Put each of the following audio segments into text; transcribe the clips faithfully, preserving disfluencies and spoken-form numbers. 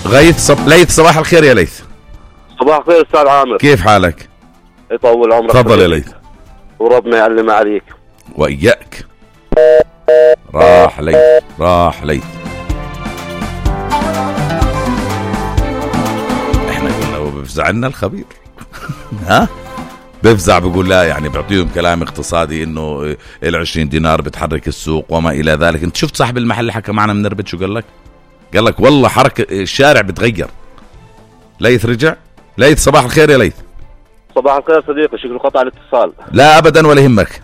غيث صب... ليث صباح الخير يا ليث. صباح الخير أستاذ عامر، كيف حالك؟ يطول عمرك. تفضل يا ليث. وربنا يعلم عليك وإياك. راح ليث راح ليث. احنا كنا بفزع لنا الخبير ها بفزع بقول لا، يعني بيعطيهم كلام اقتصادي انه العشرين دينار بتحرك السوق وما الى ذلك. انت شفت صاحب المحل اللي حكى معنا من نربت شو قال لك؟ قال لك والله حركة الشارع بتغير. ليث رجع. ليث صباح الخير يا ليث. صباح الخير صديقي، شكله قطع الاتصال. لا ابدا ولا يهمك.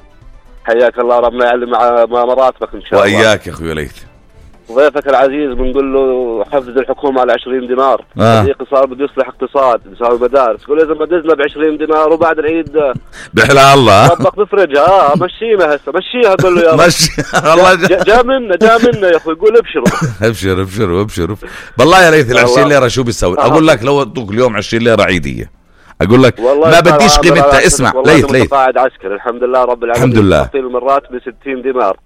حياك الله، ربنا يعلم مع مراتبك ان شاء الله. واياك يا اخوي ليث. ضيفك العزيز بنقول له حفز الحكومه على عشرين دينار. آه. صديقي صار بده يصلح اقتصاد، بيساوي مدارس، يقول اذا ما دزنا ب عشرين دينار وبعد العيد بحلى الله ربك بفرجها. اه مشينا هسه مشيها، قول له يا رب. مشي والله جا, جا منا جا منا يا اخوي، يقول ابشروا ابشر ابشر ابشر. بالله يا ليث ال عشرين ليره شو بيسوي؟ اقول لك لو ادوك اليوم عشرين ليره عيديه اقول لك ما بديش قيمتها. اسمع ليث ليث قاعد عسكري الحمد لله رب العالمين، الحمد لله. تعطيل المرات ب ستين دينار.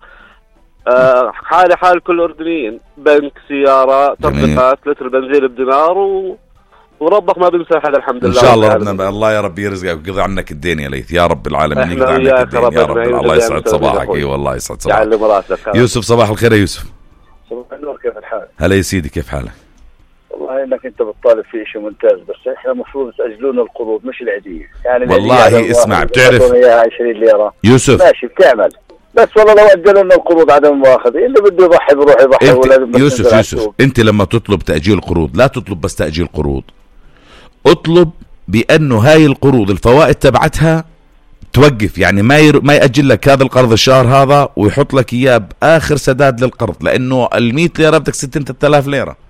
آه حالي حال كل الاردنيين، بنك، سياره، تطبيقات، لتر بنزين بدينار و... وربك ما بيمسح هذا الحمد لله. ان شاء الله ربنا الله يا رب يرزقك ويقضي عنك الدين يا ليث يا رب العالمين، يقضي عنك الدين يا رب. الله يسعد صباحك. اي والله يسعد صباحك. يوسف صباح الخير يا يوسف. صباح النور، كيف الحال؟ هلا يا سيدي، كيف حالك؟ والله انك انت بتطالب في شيء ممتاز، بس احنا المفروض تاجلون القروض مش العيديه. يعني والله اسمع بتعرف عشرين ليره يوسف ماشي بتعمل، بس والله لو اجلوا لنا القروض عدم المؤاخذه، اللي بده يضحي بروح يضحي. ولازم يوسف يوسف انت لما تطلب تاجيل قروض لا تطلب بس تاجيل قروض، اطلب بانه هاي القروض الفوائد تبعتها توقف، يعني ما ير... ما ياجل لك هذا القرض الشهر هذا ويحط لك اياه باخر سداد للقرض، لانه المية ليره بدك ستين آلاف ليره.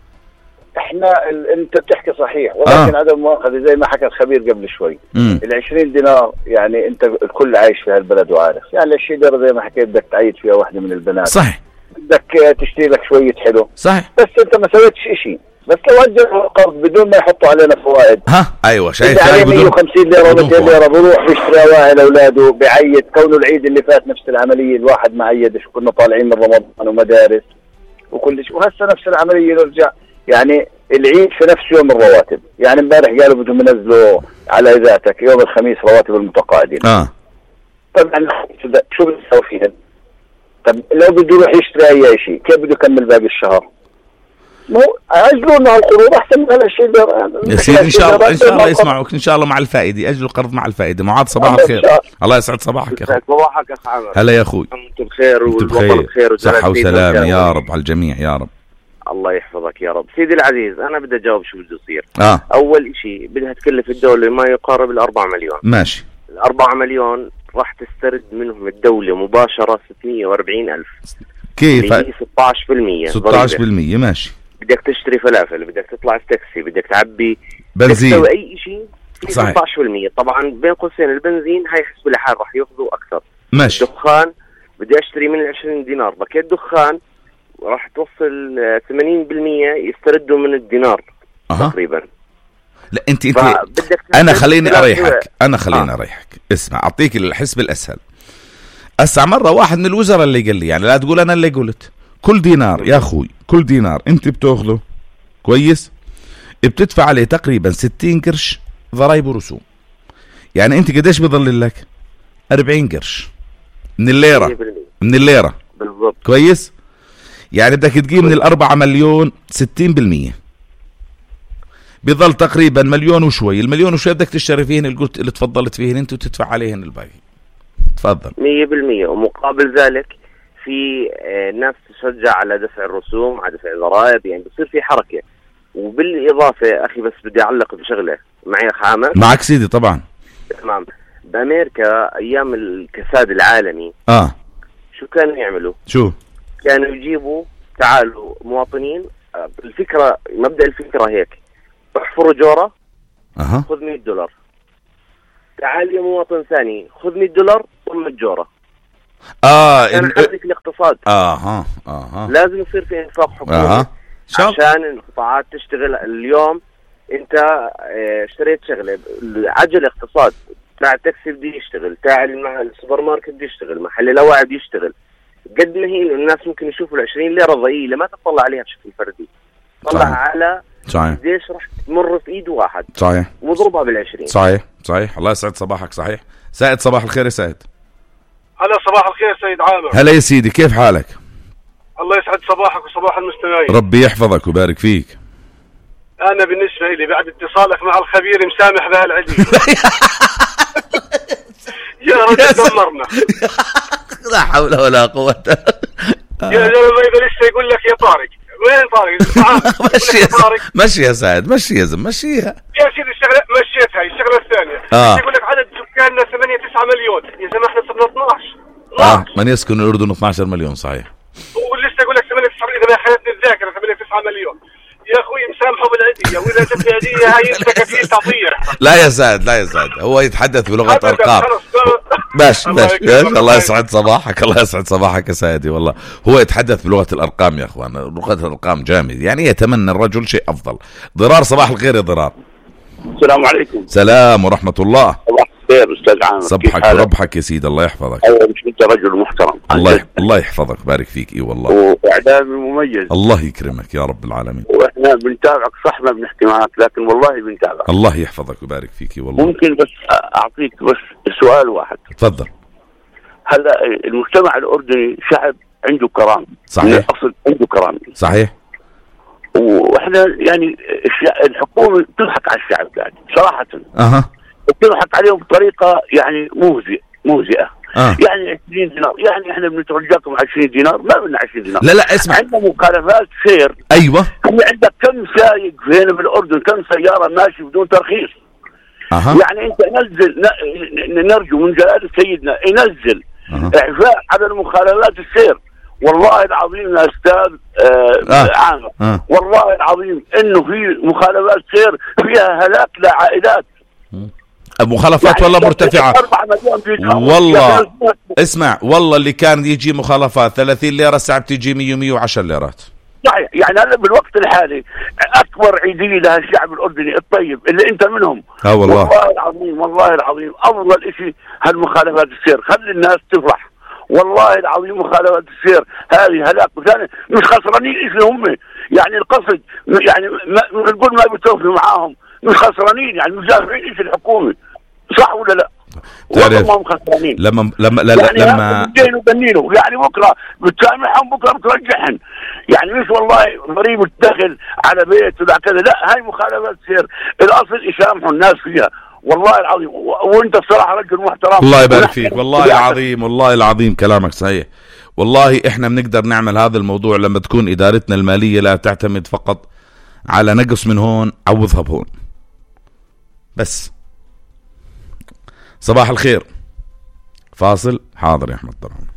احنا ال... انت بتحكي صحيح، ولكن آه. عدم مؤاخذه زي ما حكى الخبير قبل شوي، ال عشرين دينار يعني انت الكل عايش في هالبلد وعارف، يعني الشيء ده زي ما حكيت بدك تعيد فيها واحده من البنات، صحيح، بدك تشتري لك شويه حلو، صحيح، بس انت ما سويتش شيء، بس لو اجلوا القرض بدون ما يحطوا علينا فوائد. ها ايوه شايف يعني مية وخمسين ليره ومئتين ليره بروح بيشتري اواعي لاولاده، بعيد. كونه العيد اللي فات نفس العمليه، الواحد ما عيدش، كنا طالعين من رمضان ومدارس وكل شيء، وهسه نفس العمليه نرجع. يعني العيد في نفس يوم الرواتب، يعني امبارح قالوا بدهم ينزلوا على ذاتك يوم الخميس رواتب المتقاعدين. اه طبعا شو بنسوي فيها؟ طب لو بده يروح يشتري اي شيء كيف بده يكمل باقي الشهر؟ مو اجلوا لنا القروض احسن من هالشيء يا سيدي. ان شاء الله ان شاء الله يسمعوك ان شاء الله مع الفائده، اجلوا القرض مع الفائده. معاذ صباح الخير. الله يسعد صباحك يا اخي. صباحك يا اخ عامر. هلا يا اخوي. انتم بخير والوطن بخير صحه وسلامه يا رب على الجميع يا رب. الله يحفظك يا رب. سيدي العزيز انا بدي اجاوب شو بده يصير. آه. اول شيء بدها تكلف الدوله ما يقارب الأربعة مليون. ماشي. الأربعة مليون راح تسترد منهم الدوله مباشره ستمية وأربعين ألف. كيف؟ ستة عشر بالمية. ستة عشر بالمية ماشي. بدك تشتري فلافل، بدك تطلع في تاكسي، بدك تعبي بنزين، بدك تسوي اي شيء في ستة عشر بالمية. طبعا بين قوسين البنزين هاي حسب الحال راح ياخذوا اكثر. ماشي. الدخان بدي اشتري من العشرين دينار باكيت دخان راح توصل ثمانين بالمية يستردوا من الدينار. أه. تقريبا. لا انت انت انا خليني اريحك انا خليني آه. اريحك. اسمع اعطيك الحسب الاسهل. اسع مره واحد من الوزراء اللي قال لي، يعني لا تقول انا اللي قلت، كل دينار يا اخوي كل دينار انت بتاخذه كويس بتدفع عليه تقريبا ستين قرش ضرائب ورسوم. يعني انت قديش بضل لك؟ أربعين قرش من الليره من الليره بالضبط. كويس. يعني بدك تجيب من الأربعة مليون ستين بالمية بيضل تقريبا مليون وشوي. المليون وشوي بدك تشتري فيهن اللي قلت اللي تفضلت فيهن انت وتدفع عليهن الباقي. تفضل. مية بالمية. ومقابل ذلك في ناس تشجع على دفع الرسوم على دفع الضرائب، يعني بصير في حركة. وبالإضافة أخي بس بدي أعلق بشغلة معي أخ عامر. معك سيدي طبعا. تمام. بأمريكا أيام الكساد العالمي آه شو كانوا يعملوا؟ شو؟ كانوا يجيبوا تعالوا مواطنين، الفكرة مبدأ الفكرة هيك، احفروا جورة أه. خذ مية دولار، تعال يا مواطن ثاني خذ مية دولار ثم الجورة. اه كان حرك الاقتصاد. اها اها لازم يصير في انفاق حكومي آه. عشان القطاعات تشتغل. اليوم انت اشتريت شغله عجل اقتصاد، تاع التاكسي بده يشتغل، تاع السوبر ماركت بده يشتغل، محل الاواعي بده يشتغل. قد ما هي الناس ممكن يشوفوا العشرين ليرة ضئيلة ما تطلع عليها بشكل فردي، طلع على صحيح. قديش رح تمر في ايد واحد صحيح وضربها بالعشرين. صحيح صحيح. الله يسعد صباحك. صحيح. سائد صباح الخير يا سائد. هلا صباح الخير سيد عامر. هلا يا سيدي، كيف حالك؟ الله يسعد صباحك وصباح المستمعين. ربي يحفظك ويبارك فيك. انا بالنسبه لي بعد اتصالك مع الخبير مسامح بهالعدي. يا رجل دمرنا. لا حول ولا قوة. يا زلمه اذا لسه يقول لك يا طارق، وين طارق؟ مشي يا طارق، مشي يا سعد، مشي يا زلمه، مشيها يا سيدي. الشغله مشيت هاي الشغله الثانيه. آه. يقول لك عدد سكاننا ثمانية تسعة مليون، يا زلمه احنا صرنا اثناعش. اه من يسكن الاردن اثني عشر مليون. صحيح. ولسه يقول لك ثمانية تسعة، اذا ما خانتني الذاكره ثمانية تسعة مليون. يا اخوي مسامحه بالعديه، واذا جت العديه هاي انت كفيل تطير. لا يا سعد، لا يا سعد، هو يتحدث بلغه ارقام. باش باش الله يسعد صباحك. الله يسعد صباحك يا سيدي. والله هو يتحدث بلغه الارقام يا اخوان، لغه الارقام جامد، يعني يتمنى الرجل شيء افضل. ضرار صباح الخير يا ضرار. السلام عليكم. سلام ورحمه الله. صباح الخير استاذ عامر. صبحك وربحك يا سيدي، الله يحفظك. ايوه مش انت رجل محترم. الله يح... الله يحفظك، بارك فيك. اي والله واعلامي مميز. الله يكرمك يا رب العالمين. واحنا بنتابعك، صح ما بنحكي معك لكن والله بنتابعك. الله يحفظك ويبارك فيك. والله ممكن بس اعطيك بس سؤال واحد. تفضل. هلا المجتمع الاردني شعب عنده كرامه. صحيح. اصل عنده كرامه. صحيح. واحنا يعني الحكومه تضحك على الشعب يعني صراحه. اها. بتضحك عليهم بطريقه يعني موزئه موزئه. آه. يعني عشرين دينار، يعني احنا بنترجاكم عشرين دينار، ما بدنا عشرين دينار. لا لا اسمع، عندنا مخالفات سير. ايوه. في عندك كم سايق هنا بالاردن، كم سياره ماشي بدون ترخيص. أه. يعني انت نزل ن... نرجو من جلاله سيدنا ينزل أه. اعفاء على المخالفات السير. والله العظيم يا استاذ آه آه. عامر آه. والله العظيم انه في مخالفات سير فيها هلاك لعائلات. مخالفات يعني والله مرتفعة والله. اسمع والله اللي كان يجي مخالفات ثلاثين ليرة ساعة بتيجي مية ومية وعشر ليرات. صحيح. يعني هلا بالوقت الحالي اكبر عيدية لهالشعب الاردني الطيب اللي انت منهم. اه والله والله العظيم والله العظيم افضل اشي هالمخالفات السير، خلي الناس تفرح. والله العظيم مخالفات السير هذه هلاك، وثاني مش خسرانين شيء هم، يعني القصد يعني ما نقول ما بتوفي معاهم، مش خسرانين يعني مش دافعين شيء الحكومه، صح ولا لا؟ تعرف والله خسرانين. لما لما لا يعني لما بينوا بنينوا يعني بكره بتسامحهم بكره بترجعهم، يعني مش والله ضريبه الدخل على بيت ولا كذا، لا هاي مخالفات سير، الاصل يسامحوا الناس فيها. والله العظيم وانت بصراحه رجل محترم. الله يبارك فيك. والله العظيم والله العظيم كلامك صحيح. والله احنا بنقدر نعمل هذا الموضوع لما تكون ادارتنا الماليه لا تعتمد فقط على نقص من هون عوضها بهون بس. صباح الخير. فاصل. حاضر يا احمد طبعا.